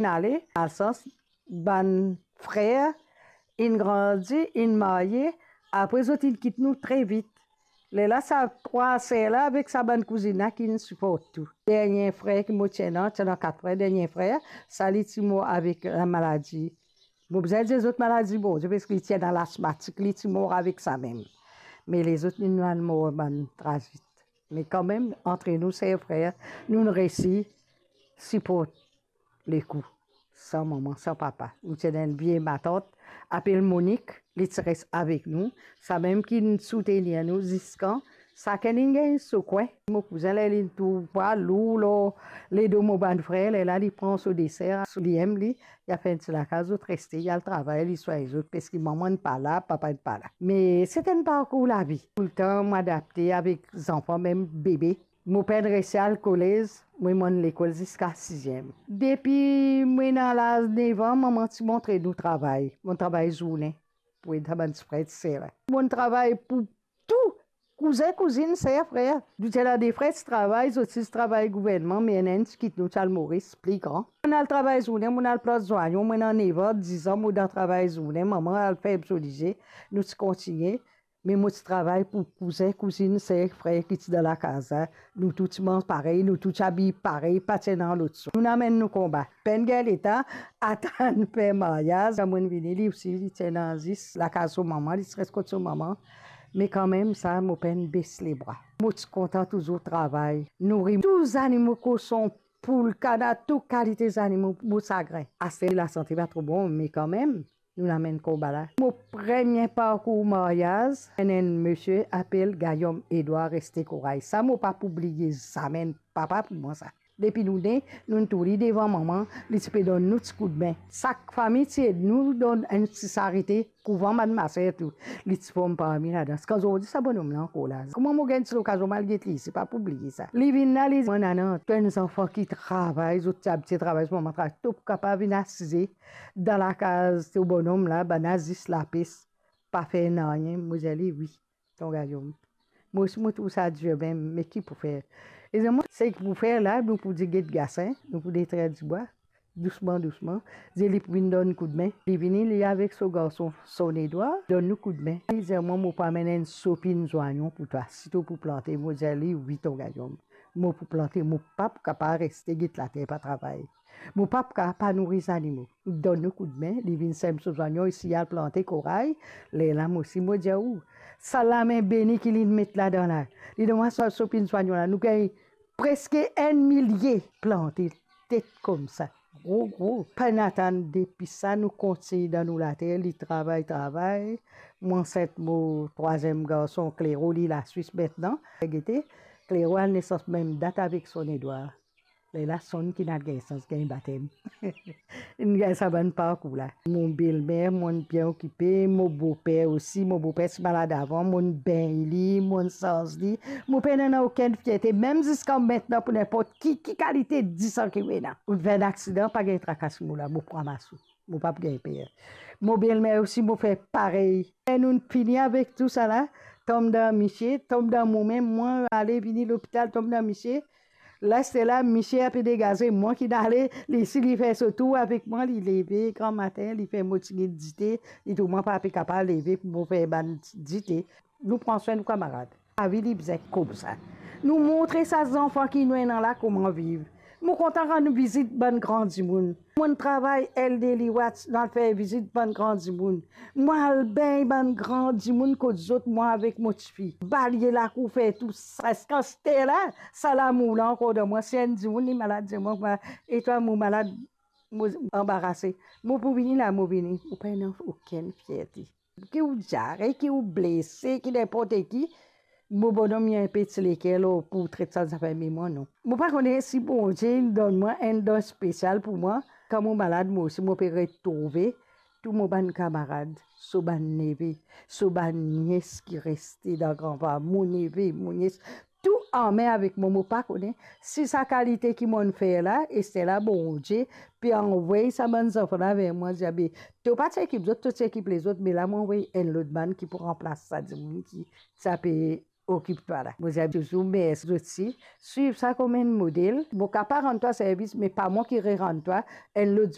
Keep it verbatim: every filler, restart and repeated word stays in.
Inn ale, malsans, bann frer inn grandi, inn marye, apre zot inn kit nou tre vit. Lerla sa trwa ser la avek sa bann kouzinn la ki'nn siport tou. Dernie frer ki mo ti ena, ti ena kat frer, dernie frer, sa li ti mor avek lamaladi. Mo bizin dir zot maladi Bondie, parski li ti ena lasmatik, li ti mor avek sa mem. Me lezot, nou al mor bann trazit. Me kanmem, antre nou, ser, frer, nou'nn resi siport lekou, san manman, san papa. Nou ti ena enn vie matant, apel Monik, li ti res avek nou, sa mem ki'nn soutenir nou ziska. Sakenn inn gagn so kwin. Mo kouzin, ler li'nn trouv pwa lour lor ledo mo bann frer, lerla li pran so deser, so li enn li, li al fer enn ti lakaz, zot reste, li al travay, li swagn zot, parski manman'nn pa la, papa'n pa la. Me se enn parkour lavi. Toultan mo adapte avek zanfan, mem bebe. Mo pa'nn resi al kolez, mo mo'nn lekol ziska siziem. Depi mo ena laz nev an, manman ti montre nou travay. Mo'nn travay zourne pou ed sa bann ti frer, ti ser la. Mo'nn travay pou tou, kouzin, kouzinn, ser, frer. Nou ti ena de frer ti travay, zot ti travay gouvernman, me ena enn ti kit nou, ti al Moris, pli gran. Mo'nn al travay zourne, mo'nn al plant zwanyon, mo ena nev an, diz an, mo dan travay zourne, manman al ferm so lizie, nou ti kontigne. Me mo ti travay pou kouzin, kouzinn, ser, frer ki ti dan lakaz la. Nou tou ti manz parey, nou tou ti abiy parey, pa ti ena lot swa. Nou'nn amenn nou konba. Pa'nn gagn leta atann fer maryaz. Kan mo'nn vini, li osi, li ti ena zis lakaz so manman, li ti res kot so manman. Me kanmem sa, mo pa'nn bes lebra. Mo ti kontan touzour travay, nouri tou zanimo, koson, poul, kana, tou kalite zanimo, mo sagrin. Aster lasante pa tro bon, me kanmem, nou'nn amenn konba la. Mo premie parkour maryaz, enn, enn misie apel Gayom Edwar, reste kouraz. Sa mo pa pou bliye zame, enn papa pou mwa sa. Depi nou ne, nou'nn toulede devan manman, li ti pe donn nou ti koudme. Sak fami ti ed nou, donn enn ti sarite, kouvan bann maser tou. Li ti form parmi ladan. Ziska zordi sa bonom la ankor la. Kouma mo gagn ti lokazion, mo al get li, se pa pou bliye sa. Li vinn la, li dir mwa, nana, to enn zanfan ki travay, zot ti abitie travay, so manman travay, to pou kapav vinn asize dan lakaz to bonom la, bann la zis lapes, pa fer nanye. Mo dir li, wi, ton gayom. Mo osi mo trouv sa dir mem, me ki pou fer? E zot, mwa, seki pou fer la, nou pou dir get gasin, nou pou detrir dibwa, dousman, dousman. Dir li pou vinn donn koudme. Li vini, li avek so garson, Son Edwar, donn nou koudme. Li dir mwa, mo pou amenn enn sopinn zwanyon pou twa, si to pou plante. Mo dir li, wi, ton gayom. Mo pou plante, mo pa pou kapav reste get later pa travay. Mo pa pou kapav pa nouri zanimo. Donn nou koudme, li vinn sem so zwanyon, isi al plante koray, lerla mo osi mo dir ou, sa lame beni ki li met ladan la. Li donn mwa sa sopinn zwanyon la, nou gagn preske enn milie plante, tet koumsa, gro, gro. Pa'nn atann, depi sa nou kontign dan nou later, li travay, travay. Mo ansint mo trwaziem garson, Klero, li Laswis aster. Gete, Klero al nesans mem dat avek Son Edwar. Lerla Son ki'nn al gagn sans gagn batem. Inn gagn sa bann parkour la. Mo belmer, mo'nn bien okipe, mo boper osi, mo boper ti malad avan, mo'nn bengn li, mo'nn sarz li. Mo pena okenn fierte, mem ziska aster pou ninport ki, ki kalite disan ki mo ena. Ou fer enn aksidan, pa gagn traka si mo la, mo pou ramas ou. Mo pa pou gagn per. Mo belmer osi, mo fer parey. E nou'nn fini avek tou sala, tom dan misie, tom dan momem, mwa ale vini lopital, tom dan misie. Lerla misie ape degaze, mwa ki'nn ale, li isi li fer so tour avek mwa, li leve gramatin, li fer mo tigit dite, li trouv mwa pa pe kapav leve pou mo fer bann dite. Nou pran swin nou kamarad. Lavi li bizin koumsa. Nou montre sa zanfan ki nou ena la kouma viv. Mo kontan rann vizit bann gran dimoun. Mo'nn travay Elderly Watch, nou al fer vizit bann gran dimoun. Mo al bengn bann gran dimoun kot zot, mwa avek mo tifi. Balye lakour, fer tou sa. Ziska aster la, sa lamour la ankor dan mwa. Si enn dimoun li malad, dir mwa, "E twa, mo malad," mo anbarase. Mo pou vini la, mo vini. Mo pena okenn fierte. Ki ou diare, ki ou blese, ki ninport ki, mo bonom, li enpe ti leker lor pou tret sa zafer, me mwa non. Mo pa kone si Bondie inn donn mwa enn don spesial pou mwa. Kan mo malad, mo osi mo pe retrouve tou mo bann kamarad, so bann neve, so bann nies ki reste dan granpapa, mo neve, mo nies, tou anmem avek mwa. Mo pa kone si sa kalite ki mo'nn fer la, aster la Bondie pe anvoy sa bann zanfan la ver mwa, dir, "Be, to pa ti ekip zot, to ti ekip lezot, me la mo anvoy enn lot bann ki pou ranplas sa dimoun ki ti ape okip twa la." Mo dir touzour mersi zot osi, swiv sa kouma enn model. Mo kapav rann twa servis, me pa mwa ki rerann twa, enn lot